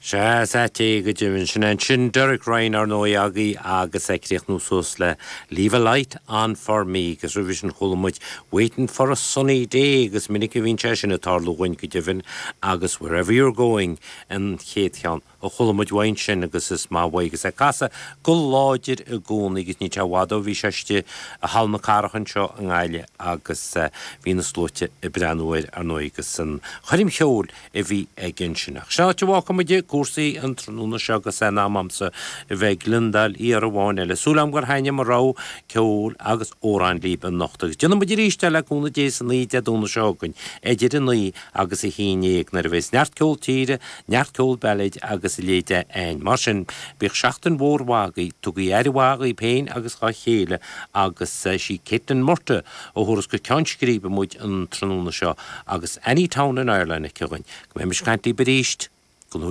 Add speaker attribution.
Speaker 1: Sea, is ait é go deimhin. Sin é ansin Derek Ryan, ar ndóigh, agaibh agus é ag críochnú suas le Leave a Light On For Me agus roimhe sin chuala muid Waiting For A Sunny Day agus minic a bhíonn sé sin ag tarlú dhúinn go deimhin agus Wherever You're Going an chéad cheann a chuala muid uaidh ansin agus is maith uaidh agus é ag casadh go láidir i gcónaí agus níl sé i bhfad ó bhí sé istigh i Halla na Cathrach anseo i nGaillimh agus bhí na sluaite ag breathnú air ar ndóigh agus an choirm cheoil a bhí aige ansin. Ach sin áit a bhfágfaidh muid cúrsaí an tráthnóna seo agus é in am a'msa a bheith ag gliondáil iar amháin eile. Súil a'm gur thaitnigh mo rogha ceoil agus amhrán libh anocht agus déanfaidh muid arís é le cúnamh Dé san oíche Dé Domhnaigh seo chugainn idir 9 agus 11 nuair a bheas neart ceol tíre, neart ceol bailéid agus a leithéid a'ainn. Mar sin, bíodh seachtain mhór mhaith agaibh, tugaigí aire mhaith dhaoibh féin agus dhá chéile agus sí Caitlin Murtagh a thabharfas go ceann scríbe muid an tráthnóna seo agus Any Town in Ireland aici dhuinn. Go mbeimis ag caint libh arís.